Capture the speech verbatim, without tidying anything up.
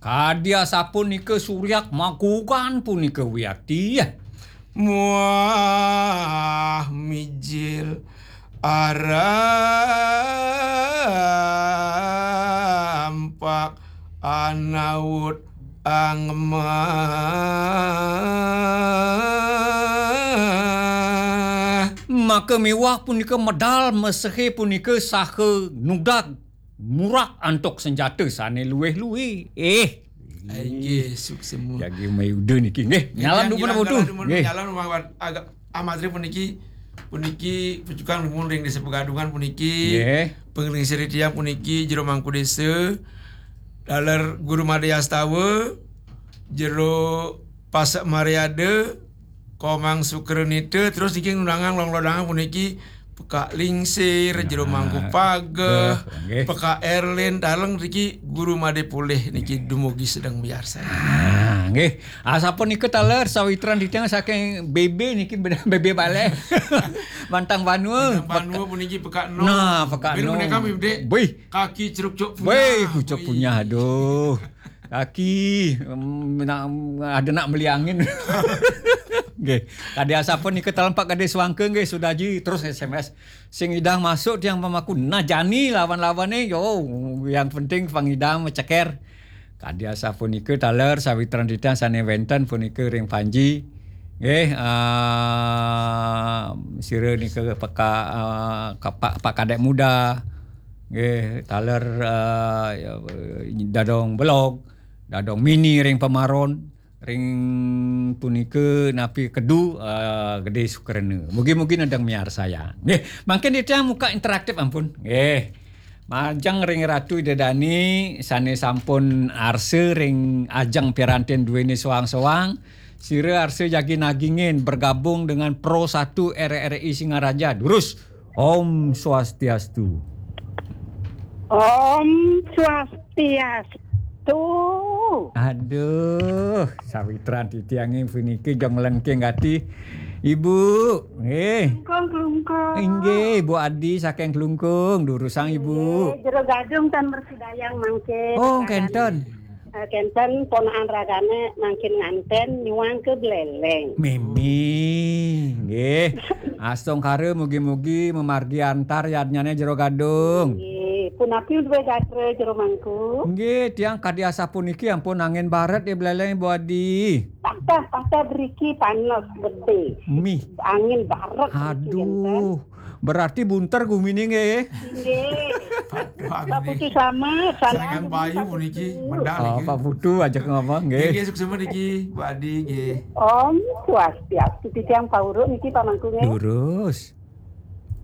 Kadi asapunika suryak magugan punika wiakti. Muah mijil arampak anaut angemah. Maka miwah punika medal mesehe punika saha nudag murak antuk senjata sane luwih-luwih. Eh. Inggih, suksema. Jagi mayuda niki nggih. Nyalam dumun putu. Nggih. Nyalam agak amatri puniki, puniki pucukan dumun ring Desa Pegadungan puniki. Nggih. Panglingsir tiang puniki Jero Mangku Desa, taler Guru Made Astawa, Jero Pasek Mariada, Komang Sukranita, terus niki nunangang longlodangan puniki Pekak Lingsir, Jero Mangku Pageh, Pekak Erlin, taler niki Guru Made Pulih niki dumugi sedeng miarsa. Ah, nggih. Asapunika taler sawitran titiang saking B B niki, B B Baleh. Mantang Banua. Mantang Banua puniki Pekak Nom. Nah, Pekak Nom. Bih. Kaki ceruk cuk punyah. Bih, kucuk punyah, aduh. Kaki, em, nak, ada nak meli angin. Nggih. Kadi asapunika taler Pak Kade Suangke nggih, Sudaji terus S M S. Sing idang masuk tiang pamaku. Nah, jani lawan-lawane, yo, yang penting pangidang maceker. Kadi asapunika taler sawitran titiang sane wenten punika ring Panji. Nggih, ah, sira nika peka, ah, ka-, Pak, Pak Kadek Muda. Nggih, taler, ah, ya, Dadong Belog, Dadong Mini ring Pamaron, ring punika napi Kedu, ah, Gede Sukrena. Mugi-mugi nedeng miarsayang. Nggih, mangkin titiang muka interaktif ampun. Nggih. Majeng ring Ratu Ida Dani sane sampun arsa ring ajeng pirantin duene soang-soang, sira arsa jagi nagingin bergabung dengan Pro Satu R R I Singaraja. Durus. Om Swastiastu. Om Swastiastu. Aduh, sawitran titiange puniki jong lengking ati. Ibu, nggih. Klungkung, Klungkung. Inggih, Bu Adi saking Klungkung, durusang Ibu. Nggih, Jero Gadung tan mresidayang mangkin. Oh, kenten. Eh, kenten ponakan ragane mangkin nganten nyuang ke Bleleng. Mimi, nggih. Astungkara mugi-mugi mamargi antar yadnyane Jero Gadung. Nggih, punapi duwe gatra Jero Mangku? Nggih, tiang kadi asapuniki ampun angin baret di Bleleng, Bu Adi. Patah, patah driki panas gede. Mih. Angin baret driki. Aduh, kenten. Berarti bunter gumine nggih. Nggih. Pak Putu sama, salam. Saringan payu puniki, medal. Oh, niki. Pak Putu ajak ngomong nggih. Nggih, nggih, suksema niki, Bu Adi nggih. Om Swastiastu, titiang pauruk niki pamangku nggih. Durus.